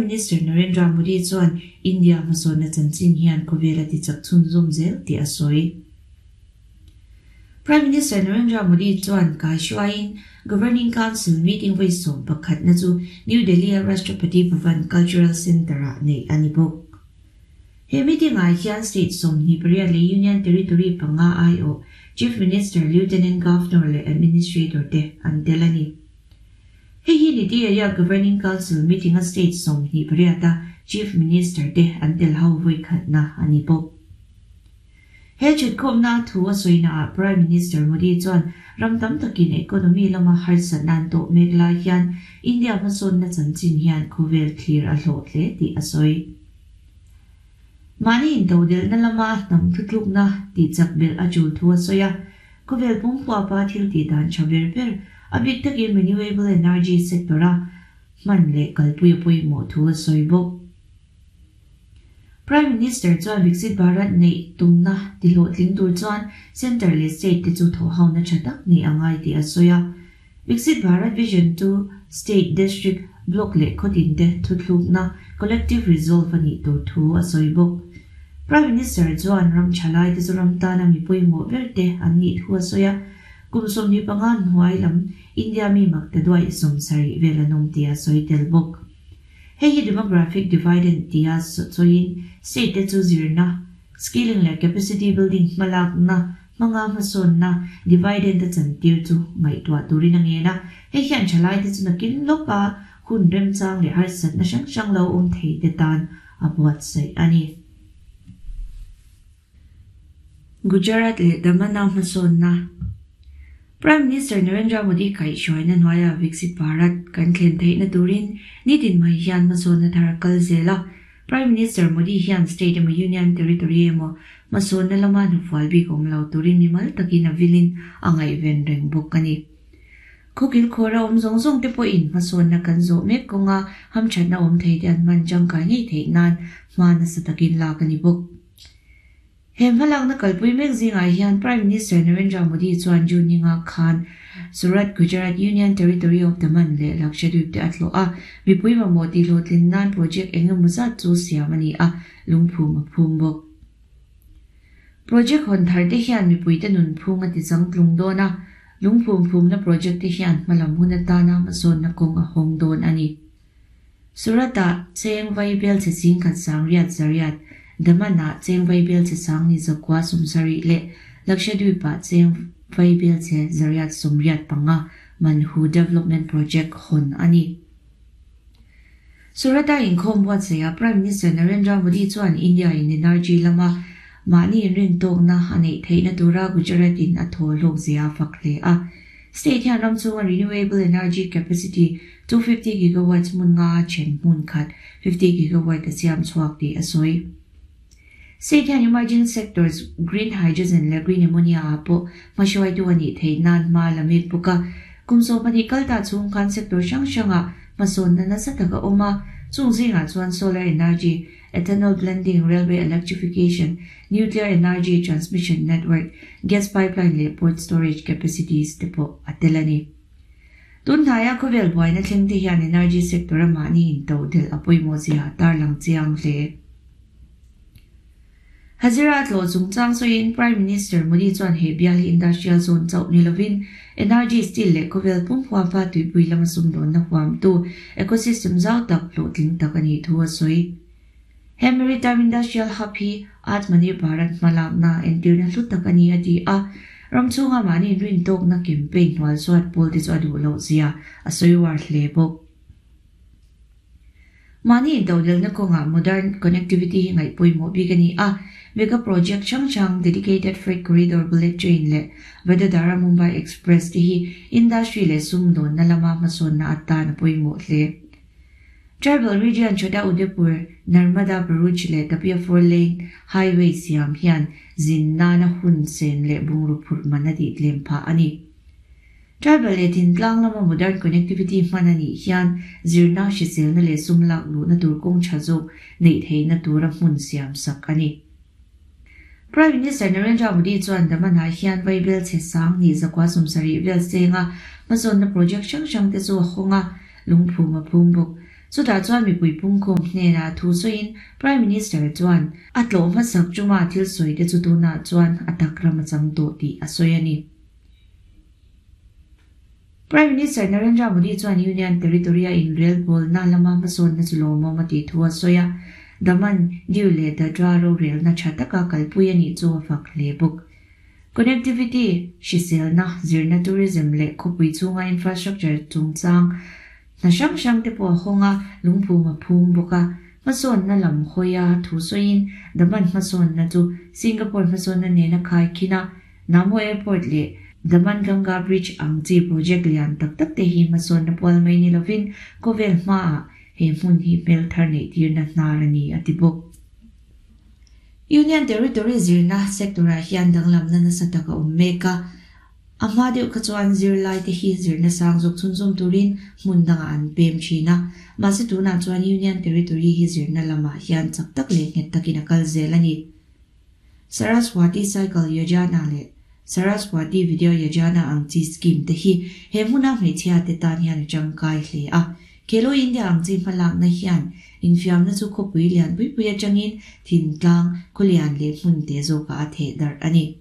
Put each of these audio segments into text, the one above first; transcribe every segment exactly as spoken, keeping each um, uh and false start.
Minister Narendra Modi chuan India hmasawnna chanchin hian khawvel a ti chak chhunzawm zel tih a sawi. Prime Minister Narendra Modi chuan kaihruaiin Governing Council meeting vawi sawm pakhatna chu New Delhi a Rashtrapati Bhavan Cultural Centre-ah neih a ni bawk. He meeting-ah hian state sawmhnih pariat leh Union Territory panga aiawh Chief Minister, Lieutenant Governor leh Administrator te an tel a ni. Hei hi Niti Aayog Governing Council meeting a state sawmhnih pariata Chief Minister te an tel ho vawi khatna a ni bawk. He thutkhawmna thu a sawinaah Prime Minister Modi chuan ram tam takin economy lama harsatna an tawh mek lai hian India hmasawnna chanchin hian khawvel thlir a hlawh hle tih a sawi. Mahni intodelhna lama hnam thutlukna tih chak belh a tul thu a sawi a, khawvel pumpuapa thil tih dan tha ber ber a bik takin renewable energy sector a hman leh kalpui a pawimawh thu a sawi bawk. Prime Minister chuan Viksit Bharat neih tumna tihlawhtling tur chuan Centre leh State te chu thawhhawna tha tak neih a ngai tih a sawi a. Viksit Bharat Vision chu State, District, Block leh khawtin te thuthlukna collective resolve a nih tur thu a sawi bawk. Prime Minister chuan ram thalai te chu ram tana mi pawimawh ber te an nih thu a sawi a. Kum sawmhnih panga hnuai lam India mi makta duai sawm sarih vel an awm tih a sawi tel bawk. Hei hi demographic dividend tia sawiin state te chu zirna, skilling leh capacity building hmalakna, hmanga hmasawnna dividend a chantir chu ngaihtuah turin a ngen a. Hei hian thalai te chu nakin lawka hun remchang leh harsatna hrang hrang lo awm thei te tan a buatsaih a ni. Gujarat leh Damana hmasawnna. Prime Minister Narendra Modi kaihhruaina hnuaia Viksit Bharat kan thlen theihna turin nitin mai hian hmasawnna thar a kal zel a. Prime Minister Modi hian state emaw Union Territory emaw hmasawnna lama hnufual bik awm lo turin mimal takin a vilin a ngaihven reng bawk a ni. Khawkil khawra awm zawng zawng te pawhin hmasawnna kan zawh mek kawnga hamthatna awm thei te an hman tangkai ngei theih nan hma nasa takin lak a ni bawk. He hmalakna kalpui mek zingah hian Prime Minister Narendra Modi chuan June ninga khan Surat, Gujarat Union Territory of Daman leh Lakshadweep te a tlawh a, mipui mamawh tihhlawhtlin nan project engemaw zat chu siam a ni a, lungphum a phum bawk. Project hawn thar te hian mipui te nun phung a ti changtlung dawn a, lungphum phumna project te hian hmalam hun atana hmasawnna kawng a hawng dawn a ni. Surata cheng vai bel che sing khat sang riat zariat, Damana cheng vai bel che sang ni zakwa sumsari leh Lakshadweepa cheng vai bel che zariat sumriat panga Manhu Development Project hon a ni. Surata inkhawm buatsaih Prime Minister Narendra Modi chuan India in energy lama mahni inrin tawkna a neih theihna tura Gujarat in a thaw hlawk zia fak hle a. State hian ram chunga renewable energy capacity two fifty gigawatts hmun nga then hmun khat fifty gigawatt a siam chhuak tih a sawi. State hian emerging sectors green hydrogen leh green ammonia ah pawh hmahruaitu a nih theih nan hma la mek bawk a. Kum sawm pahnih kal ta chhung khan sector hrang hrangah hmasawnna nasa tak a awm a. Chung zingah chuan solar energy, ethanol blending, railway electrification, nuclear energy transmission network, gas pipeline leh port storage capacities te pawh a tel a ni. Tun hnaia khawvel buaina thleng te hian energy sector a mahni intodelh a pawimawh zia tarlang chiang hle. Hazira tlawh chungchang sawiin Prime Minister Modi chuan he bial hi industrial zone chauh ni lovin energy steel leh khawvel pum huam fa tuipui lama sumdawnna huamtu ecosystem zau tak hlawhtling tak a nih thu a sawi. He Maritime Industrial Hub hi Atmanirbhar Bharat hmalakna entirna hlu tak a ni a ti a. Ram chhunga mahni inrin tawkna campaign hnual suat pawl te chu a duh loh zia a sawi war hle bawk. Mahni intodelhna kawngah modern connectivity hi ngaihpawimawh bik a ni a. Mega project hrang hrang dedicated freight corridor bullet train leh Vadodara Mumbai Express te hi industry leh sumdawnna lama hmasawnna atan a pawimawh hle. Tribal region Chota Udaipur, Narmada Bharuch leh Tapia four lane highway siam hian zin nana hun sen leh bungru phurh man a tih tlem phah a ni. Tribal leh thintlang lama modern connectivity hman a nih hian zirna hriselna leh sum lak luhna tur kawng tha zawk neih theihna tura hmun siam sak a ni. Prime Minister Narendra Modi chuan Damana hian vai bel che sang ni zakwa sumsari vel senga hmasawnna project hrang hrang te chu a hawng a, lungphum a phum bawk. Chutah chuan mipui pungkhawm hnenah thu sawiin Prime Minister chuan a tlawh hmasak chunga thil sawi te chu tunah chuan a tak ram a chang tawh tih a sawi a ni. Prime Minister Narendra Modi chuan Union Territory-a inrelbawlna lama hmasawnna chu lawmawm a tih thu a sawi a, Daman, Diu leh Dadra rorelna tha taka kalpui a nih chu a fak hle bawk. Connectivity, hriselna, zirna, tourism leh khawpui chhunga infrastructure chungchang hna hrang hrang te pawh a hawng a, lungphum a phum bawk a. Hmasawnna lam hawia thu sawiin Daman hmasawnna chu Singapore hmasawnna nena khai khin a, Namo Airport leh Daman Ganga Bridge ang chi project lian tak tak te hi hmasawnna pual mai ni lovin khawvel hmaah he hmun hi hmel thar neih tirna hnar a ni a ti bawk. Union Territory zirna sector-ah hian danglamna nasa tak a awm mek a, a hma deuh kha chuan zirlai te hi zirna sang zawk chhunzawm turin hmun dangah an pem thin a, mahse tunah chuan Union Territory hi zirna lamah hian chak tak leh nghet takin a kal zel a ni. Saraswati Cycle Yojana leh Saraswati Vidya Yojana ang chi scheme te hi he hmuna hmeichhia te tan hian a tangkai hle a. Khelo India ang chi hmalakna hian infiamna chu khawpui lian pui pui atangin thintlang, khawlian leh hmun te zawkah a theh darh a ni.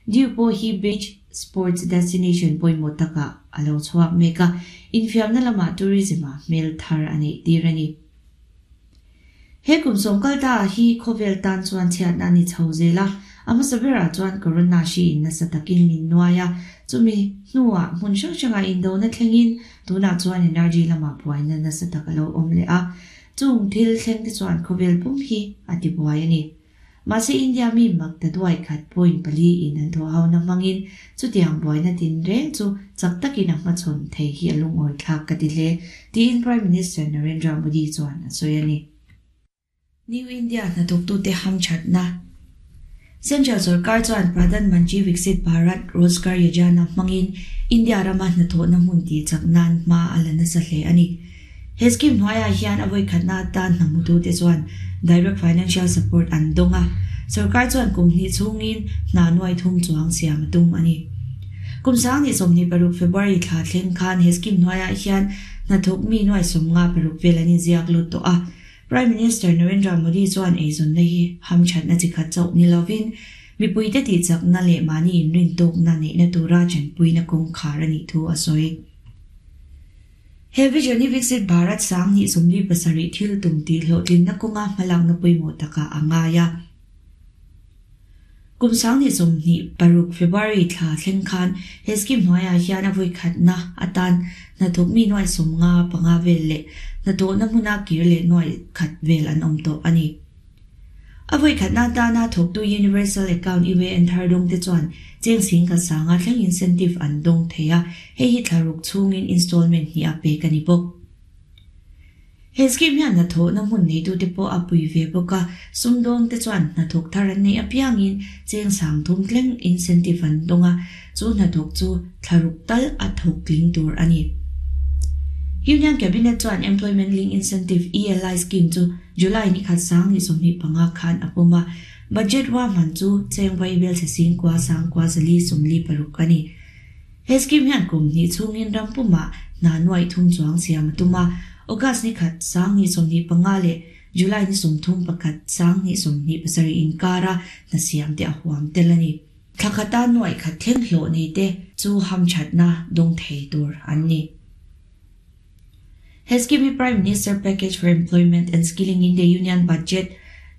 Diu pawh hi beach sports destination pawimawh takah a lo chhuak mek a, infiamna lamah tourism ah hmel thar a neih tir a ni. He kum sawm kal ta hi khawvel tan chuan chhiatna a ni chho zel a, a hmasa berah chuan corona hri in nasa takin min nuai a, chumi hnuah hmun hrang hrangah indona thlengin tunah chuan energy lamah buaina nasa tak a lo awm leh a, chung thil thleng te chuan khawvel pum hi a ti buai a ni. Mahse India mi mak ta duai khat point pali in an thawh hona hmangin chutiang buaina tin reng chu chak takin a hmachhawn thei hi a lungawi thlak ka ti hle, tiin Prime Minister Narendra Modi chuan a sawi a ni. New India hnathawktute hamthatna Central sorkar chuan Pradhan Mantri Viksit Bharat Rozgar Yojana hmangin India rama hnathawhna hmun tih chak nan hma a la nasa hle a ni. He scheme hnuaiah hian a vawikhatna atan hnamhutute chuan direct financial support an dawng a, sorkar chuan kum hnih chhungin hna nuai thum chuang siam a tum a ni. Kum sang ni sawmhnih paruk February thla thleng khan he scheme hnuaiah hian hnathawk mi nuai sawmnga paruk vel an inziak lut tawh a. Prime Minister Narendra Modi chuan eizawnna hi hamthatna chi khat chauh ni lovin mipuite tih chakna leh mahni inrintawkna neihna tura chanpuina kawngkhar a nih thu a sawi. He vision hi Viksit Bharat sang hnih sawmli pasarih thil tum tih hlawhtlinna kawnga hmalakna pawimawh takah a ngai a. Kum sang hnih sawmhnih paruk February thla thleng khan he scheme hnuaiah hian a vawikhatna atan hnathawk mi nuai sawmnga panga vel leh hnathawhna hmuna kir leh nuai khat vel an awm tawh a ni. A vawikhatna atana thawktu Universal Account U A N thar dawng te chuan cheng sing khat sanga thleng incentive an dawng thei a, hei hi thlaruk chhungin installment hnih a pek a ni bawk. He scheme hian hnathawhna hmun neitute pawh a pui ve bawk a, sumdawng te chuan hnathawk thar an neih apiangin cheng sang thum thleng incentive an dawng a, chu hnathawk chu thlaruk tal a thawk tling tur a ni. Union Cabinet chuan Employment Link Incentive, E L I, scheme chu July ni khat sang ni sawmhnih panga khan a pawm a, budget ruahman chu cheng vaibel chhe sing kua sang kua zali sawmli paruk a ni. He scheme hian kum hnih chhungin ram pumah hna nuaih thum chuang siam a tum a, August ni khat sang hnih sawmhnih panga leh July ni sawmthum pakhat sang hnih sawmhnih pasarih inkara hna siam te a huam tel a ni. Thla khata nuaih khat thleng hlawh nei te chu hamthatna dawng thei tur an ni. He scheme hi Prime Minister Package for Employment and Skilling in the Union Budget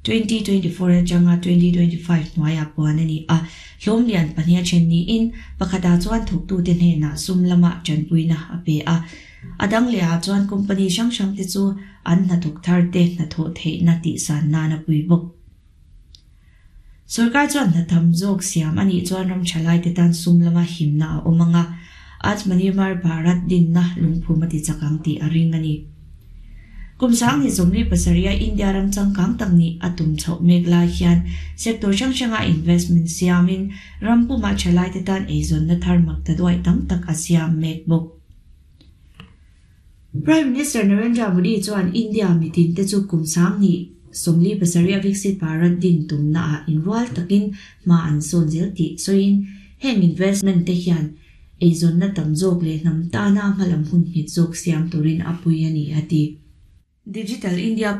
twenty twenty four atanga twenty twenty five hnuaiah puan a ni a, hlawm lian pahnih a then niin pakhatah chuan thawktute hnenah sum lamah tanpuina a pe a. A dang lehah chuan company hrang hrang te chu an hnathawk thar te hnathawh theihna tih san nan a pui bawk. Sorkar chuan hnatham zawk siam a nih chuan ram tha lai te tan sum lama himna a awm ang a, Atmanirbhar Bharat dinna lungphum a ti chak ang tih a ring a ni. Kum sang ni sawmli pasarih India ram changkang tak nih a tum chhoh mek lai hian sector hrang hranga investment siamin ram pumah tha lai te tan eizawnna thar mak ta duaih tam tak a siam mek bawk. Prime Minister Narendra Modi chuan India mitin te chu kum sang ni sawmli pasarih Viksit Bharat din tumna ah inrual takin hma an sawn zel tih sawiin heng investment te hian eizawnna tam zawk leh hnam tana hmalam hun nghet zawk siam turin a pui a ni a ti. Digital India